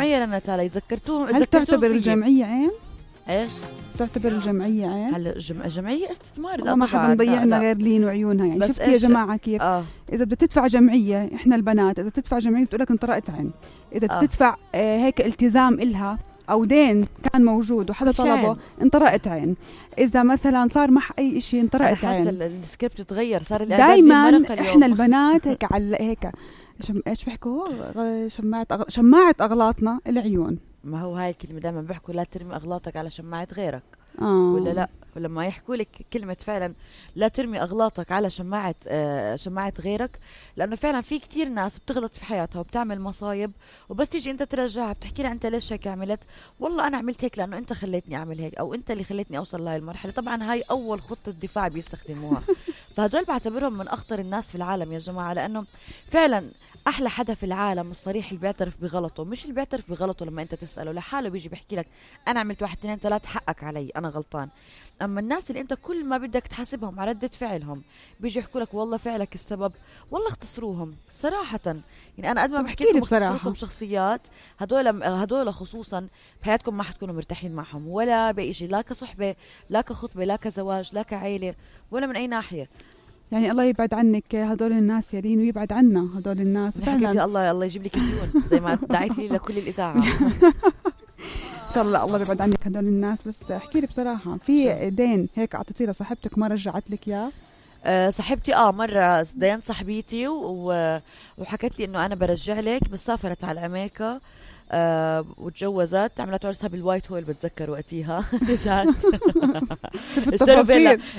الجمعية لنتالي ذكرتوهم. هل تعتبر الجمعية عين؟ ايش تعتبر الجمعية عين؟ هلا الجمعية استثمار. لا ما حدا مضيعنا غير لين وعيونها يعني. شفت يا جماعة كيف إذا بدها تدفع جمعية، إحنا البنات إذا تدفع جمعية بتقولك انطرقت عين. إذا تدفع هيك التزام إلها أو دين كان موجود وحدا طلبه انطرقت عين. إذا مثلا صار مع أي إشي انطرقت عين. السكريبت تغير، صار دايما إحنا البنات هيك على هيك إيش بيحكوا شماعة أغلاطنا العيون. ما هو هاي الكلمة دائما بيحكوا لا ترمي أغلاطك على شماعة غيرك. ولا لا، ولما يحكوا لك كلمة فعلا لا ترمي أغلاطك على شماعة غيرك، لأنه فعلا في كتير ناس بتغلط في حياتها وبتعمل مصايب، وبس تيجي أنت ترجعها بتحكي لها أنت ليش هيك عملت؟ والله أنا عملت هيك لأنه أنت خليتني أعمل هيك، أو أنت اللي خليتني أوصل لهي المرحلة. طبعا هاي أول خطة دفاع بيستخدموها. فهدول بعتبرهم من أخطر الناس في العالم يا جماعة، لأنه فعلا أحلى حدا في العالم الصريح اللي بيعترف بغلطه، مش اللي بيعترف بغلطه لما أنت تسأله لحاله بيجي بيحكي لك أنا عملت 1 2 3 حقك علي أنا غلطان. أما الناس اللي أنت كل ما بدك تحاسبهم على ردة فعلهم بيجي يحكوا لك والله فعلك السبب، والله اختصروهم صراحة. يعني أنا قد ما بحكي لكم اختصروكم شخصيات، هدول خصوصا بحياتكم ما حتكونوا مرتاحين معهم ولا بأي، لا كصحبة لا كخطبة لا كزواج لا كعائلة ولا من أي ناحية. يعني الله يبعد عنك هدول الناس يا لين، ويبعد عنا هدول الناس فعلا. الله يجيب لك مليون زي ما دعيت لي لكل الإذاعة. إن شاء الله يبعد عنك هدول الناس. بس احكي لي بصراحة، في دين هيك أعطيتيه لصاحبتك ما رجعت لك إياه؟ صاحبتي مرة دين صاحبتي وحكت لي إنه أنا برجع لك، بس سافرت على أمريكا وتجوزت، عملت عرسها بالوايت هول بتذكر وقتيها. رجعت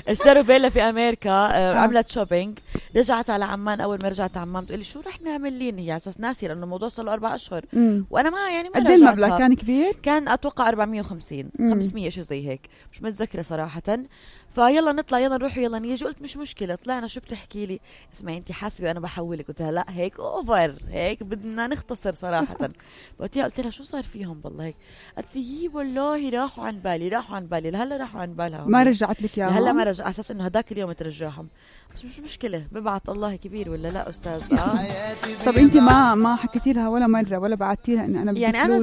اشتروا فيلا في أمريكا. عملت شوبينج، رجعت على عمان. أول ما رجعت عمان تقولي شو رح نعمل لين، هي أساس ناسي لأنه الموضوع صار له 4 أشهر وأنا ما قد ايه المبلغ كان كبير؟ كان أتوقع 450 500 شيء زي هيك، مش متذكرة صراحة. فيلا نطلع يلا نروح يلا نيجي. قلت مش مشكلة. طلعنا. شو بتحكي لي؟ اسمعي انت حاسبة انا بحولك. قلت لها لا هيك اوفر، هيك بدنا نختصر صراحة. قلت لها شو صار فيهم بالله هيك؟ قالت لي والله راحوا عن بالي لهلا راحوا عن بالها. ما رجعت لك اياهم؟ هلا ما رجع، على اساس انه هداك اليوم ترجعهم. بس مش مشكلة، ببعت الله كبير ولا لا أستاذ. طب أنت ما حكيتي لها ولا مرة ولا بعتي لها إن أنا بدي يعني أنا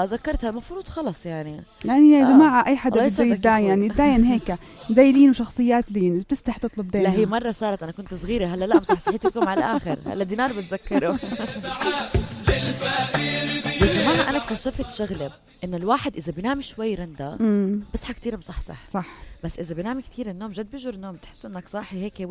ذكرتها المفروض خلص يعني يا جماعة أي حدا بده يتداين هيك زي لين وشخصيات لين بتستح تطلب دين. لا هي مرة صارت أنا كنت صغيرة، هلا لا مصحصحيتكم على الآخر. هلا دينار بتذكره. يا جماعة أنا اكتشفت شغلة إنه الواحد إذا بينام شوي رندا بصحى كتير مصحصح. صح. بس إذا بينام كتير النوم جد بيجر النوم، بتحسوا إنك صاحي هيك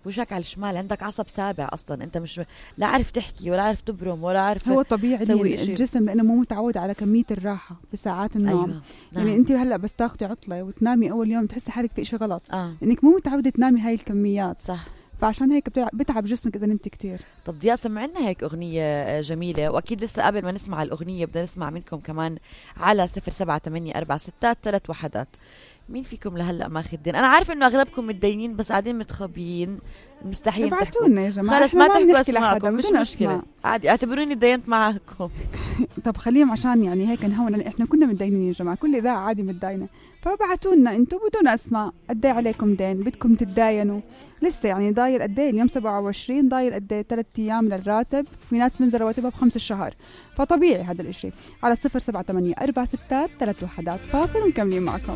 وجهك على الشمال، عندك عصب سابع أصلا، أنت مش لا عارف تحكي ولا عارف تبرم ولا عارف. هو طبيعي الجسم لأنه مو متعود على كمية الراحة بساعات النوم. أيوة. يعني أنت هلأ بس تاخدي عطلة وتنامي أول يوم تحسي حالك في إشي غلط إنك مو متعودة تنامي هاي الكميات. صح. فعشان هيك بتعب جسمك إذا نمت كتير. طب ضياء سمعنا هيك أغنية جميلة، وأكيد لسه قبل ما نسمع الأغنية بدنا نسمع منكم كمان على 07846331. مين فيكم لهلا ماخذ دين؟ أنا عارف إنه أغلبكم متدينين بس قاعدين متخبيين مستحيل تحكوا لنا يا جماعة. خلص ما تحكوا اسمعكم، مش مشكلة عادي، اعتبروني دينت معكم. طب خليهم عشان يعني هيك نهون، احنا كنا متدينين يا جماعة، كل إذاعة عادي متدينة، فبعتوا لنا انتم بدون اسماء قد ايه عليكم دين بدكم تتداينوا. لسه يعني ضايل قد ايه اليوم 27، ضايل قد ايه 3 ايام للراتب، في ناس من رواتبها ب5 الشهر، فطبيعي هذا الاشي. على 07846331 فاصل ومكملين معكم.